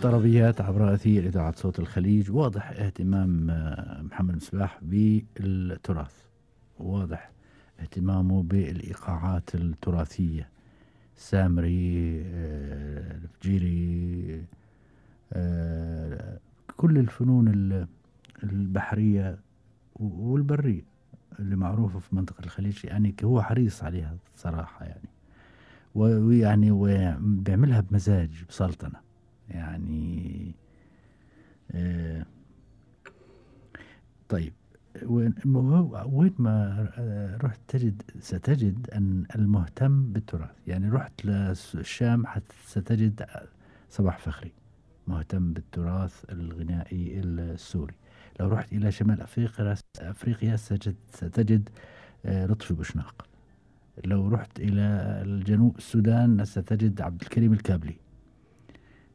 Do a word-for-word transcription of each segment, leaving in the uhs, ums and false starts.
الطربيات عبر أثير إذاعة صوت الخليج. واضح اهتمام محمد مصباح بالتراث، واضح اهتمامه بالإيقاعات التراثية، سامري، الفجيري، كل الفنون البحرية والبرية اللي معروفة في منطقة الخليج، يعني هو حريص عليها صراحة يعني، ويعني وبيعملها بمزاج بسلطنة يعني. آه طيب، وين وين ما رحت تجد ستجد أن المهتم بالتراث، يعني رحت للشام ستجد صباح فخري مهتم بالتراث الغنائي السوري. لو رحت إلى شمال أفريقيا أفريقيا ستجد, ستجد لطفي بوشناق. لو رحت إلى الجنوب السودان ستجد عبد الكريم الكابلي،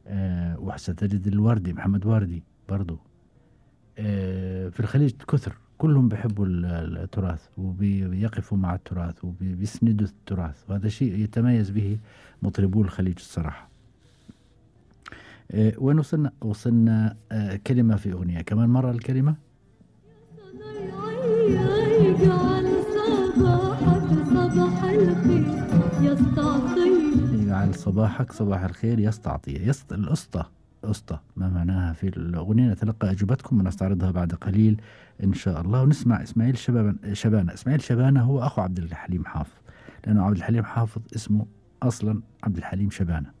أه وستجد الوردي محمد واردي برضو. أه في الخليج كثر كلهم بيحبوا التراث وبيقفوا مع التراث وبيسندوا التراث، وهذا شيء يتميز به مطربو الخليج الصراحة. أه وين وصلنا؟ وصلنا أه كلمة في أغنية كمان مرة. الكلمة صباح الخير يستعطي، يجعل صباحك صباح الخير يستعطي. يست الأسطى أسطى ما معناها في الأغنية؟ نتلقى أجوبتكم ونستعرضها بعد قليل إن شاء الله. ونسمع إسماعيل شبان شبانة. إسماعيل شبانة هو أخو عبد الحليم حافظ، لأنه عبد الحليم حافظ اسمه أصلا عبد الحليم شبانة،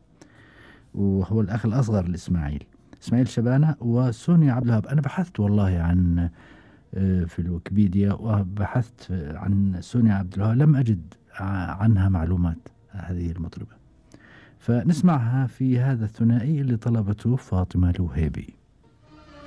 وهو الأخ الأصغر لإسماعيل. إسماعيل شبانة وسونيا عبد الوهاب. أنا بحثت والله عن في الويكيبيديا وبحثت عن سونيا عبد الوهاب، لم أجد عنها معلومات هذه المطربة، فنسمعها في هذا الثنائي اللي طلبته فاطمة الوهيبي.